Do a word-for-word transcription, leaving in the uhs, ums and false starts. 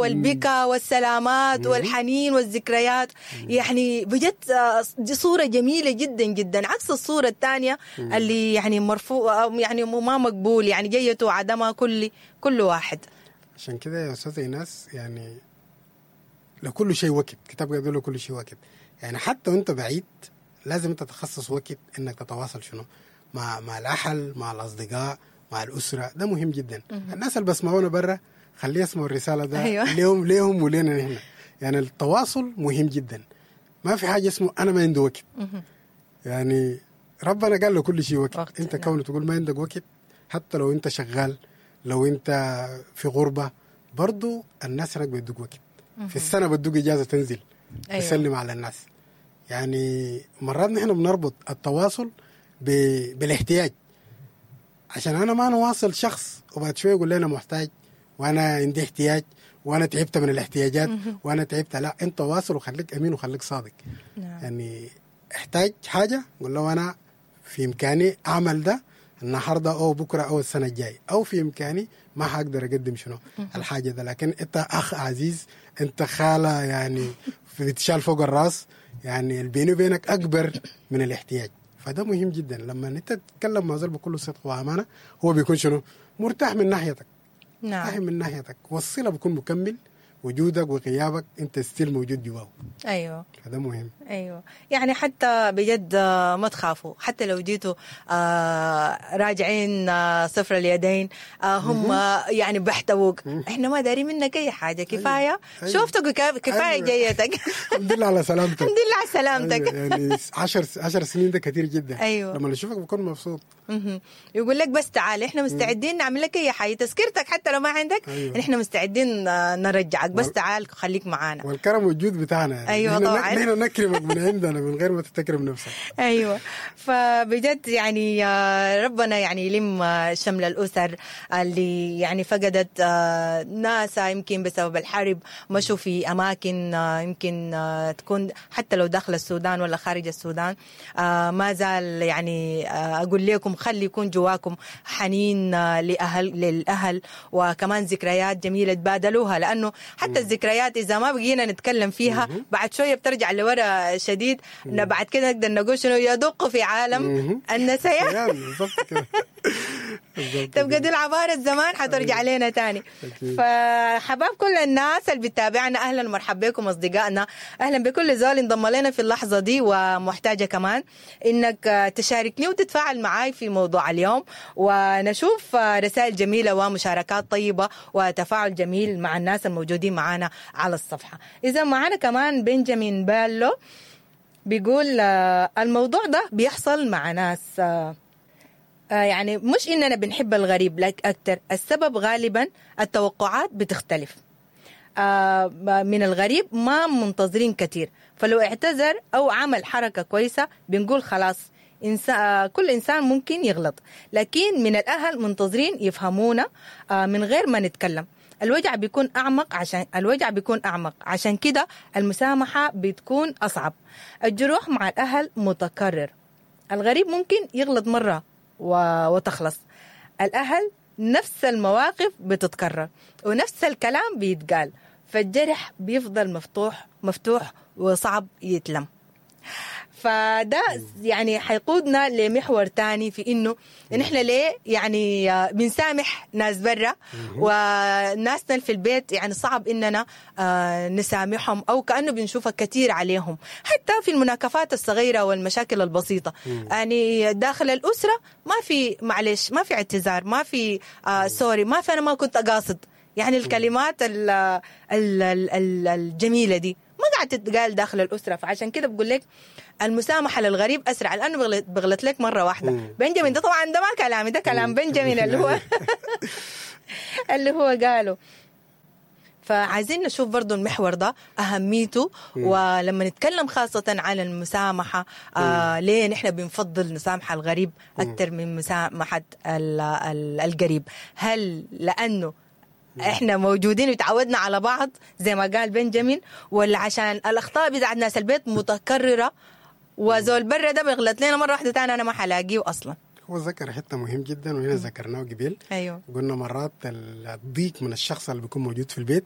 والبكا والسلامات والحنين والذكريات. يعني بجد آه، دي صورة جميلة جدا جدا، عكس الصورة الثانية اللي يعني مرفوع يعني ما مقبول، يعني جيته عدمها كل كل واحد. عشان كده يا استاذ ايناس، يعني لكل شيء وقت، كتاب يقول لكل شيء وقت. يعني حتى وانت بعيد لازم انت تخصص وقت انك تتواصل شنو مع مع الاهل، مع الاصدقاء، مع الاسره. ده مهم جدا. الناس اللي بسمعونا برا خليه يسمعوا الرسالة ده. أيوة. ليهم ليهم ولينا نحن. يعني التواصل مهم جدا. ما في حاجة اسمه انا ما عندي وقت. يعني ربنا قال له كل شيء وقت، وقت، انت نعم. كونه تقول ما عندك وقت، حتى لو انت شغال، لو انت في غربه، برضو الناس هناك بيدوك وقت. في السنة بدوك اجازه تنزل أيوة. تسلم على الناس. يعني مرات نحن بنربط التواصل ب... بالاحتياج، عشان انا ما نواصل شخص وبعد شوية يقول لي انا محتاج وانا عندي احتياج وانا تعبت من الاحتياجات وانا تعبت. لا، انت واصل وخليك امين وخليك صادق. نعم. يعني احتاج حاجة قول له انا في امكاني اعمل ده النهارده او بكره او السنة الجاية، او في امكاني ما حقدر اقدم شنو الحاجة ده، لكن انت اخ عزيز، انت خاله، يعني بتشال فوق الراس، يعني البيني وبينك اكبر من الاحتياج. فده مهم جدا. لما انت تتكلم مع زول بكل صدق وامانه، هو بيكون شنو مرتاح من ناحيتك، مرتاح نعم من ناحيتك، والصلة بيكون مكمل وجودك وغيابك، انت still موجود جواه. ايوه هذا مهم. ايوه، يعني حتى بجد آه، ما تخافوا، حتى لو جيتوا آه، راجعين آه، صفر اليدين، آه، هم يعني بحتووك. احنا ما دارين منك اي حاجة، كفاية أيوة. شوفتك وكا- كفاية أيوة. جيتك. الحمد لله على سلامتك. الحمد لله على سلامتك. أيوة، يعني عشر عشر سنين ده كثير جدا. أيوة. لما نشوفك بكون مبسوط. مهم. يقول لك بس تعال، احنا مستعدين نعمل لك اي حاجة، تذكرتك حتى لو ما عندك. أيوة. احنا مستعدين آه، نرجعك، بس وال- تعال خليك معانا. والكرم والجود بتاعنا يعني. أيوة نحن طبعاً. نحن نكرمك من عندنا من غير ما تتكرم نفسك. ايوه، فبجد يعني آه، ربنا يعني يلم آه، شمل الاسر اللي يعني فقدت آه، ناسها يمكن بسبب الحرب، مشوا في اماكن آه، يمكن آه، تكون حتى لو داخل السودان ولا خارج السودان. آه، ما زال يعني آه، اقول لكم خلي يكون جواكم حنين آه، لاهل للاهل، وكمان ذكريات جميلة تبادلوها، لانه حتى الذكريات اذا ما بقينا نتكلم فيها بعد شوية بترجع لورا شديد. بعد كده نقدر نقول شنو؟ يدق في عالم مهم. النسيان. يعني بالضبط كده، بالضبط. تبقى كده. دي العبارة الزمان حترجع لنا تاني. أكيد. فحباب كل الناس اللي بتتابعنا، اهلا ومرحبا بكم اصدقائنا، اهلا بكل زول انضم لنا في اللحظة دي. ومحتاجة كمان انك آه، تشاركني وتتفاعل معاي في موضوع اليوم، ونشوف آه، رسائل جميلة ومشاركات طيبة وتفاعل جميل مع الناس الموجودين معنا على الصفحة. اذا معنا كمان بنجامين بالو بيقول آه، الموضوع ده بيحصل مع ناس آه، آه، يعني مش إننا بنحب الغريب لك أكتر، السبب غالبا التوقعات بتختلف آه، من الغريب، ما منتظرين كتير، فلو اعتذر أو عمل حركة كويسة بنقول خلاص إنسان، كل إنسان ممكن يغلط. لكن من الأهل منتظرين يفهمونا آه، من غير ما نتكلم. الوجع بيكون أعمق، عشان الوجع بيكون أعمق، عشان كده المسامحة بتكون أصعب. الجروح مع الأهل متكرر. الغريب ممكن يغلط مرة و... وتخلص. الأهل نفس المواقف بتتكرر ونفس الكلام بيتقال، فالجرح بيفضل مفتوح مفتوح وصعب يتلم. فده يعني حيقودنا لمحور تاني في انه نحن ليه يعني آه، بنسامح ناس برا وناسنا في البيت يعني صعب اننا آه، نسامحهم، او كانه بنشوفها كثير عليهم حتى في المناكفات الصغيرة والمشاكل البسيطة. يعني داخل الاسرة ما في معلش، ما في اعتذار، ما في آه sorry، ما في انا ما كنت قاصد. يعني الكلمات ال ال ال الجميلة دي ما قاعد تتقال داخل الاسره. فعشان كده بقول لك المسامحة للغريب اسرع، لانه بغلط, بغلط لك مرة واحده. بنجامين ده طبعا ده ما كلامي، ده كلام بنجامين اللي هو اللي هو قاله. فعايزين نشوف برضو المحور ده أهميته، ولما نتكلم خاصة عن المسامحة، آه ليه نحن بنفضل نسامح الغريب أكثر من مسامحة ال- ال- القريب؟ هل لأنه احنا موجودين وتعودنا على بعض زي ما قال بنجامين، ولا عشان الاخطاء بتاعت ناس البيت متكررة، وزول برا ده بيغلط لنا مرة واحدة تاني انا ما حلاقيه اصلا؟ هو ذكر حتة مهم جدا، وهنا ذكرناه قبل. ايوه قلنا مرات الضيق من الشخص اللي بيكون موجود في البيت.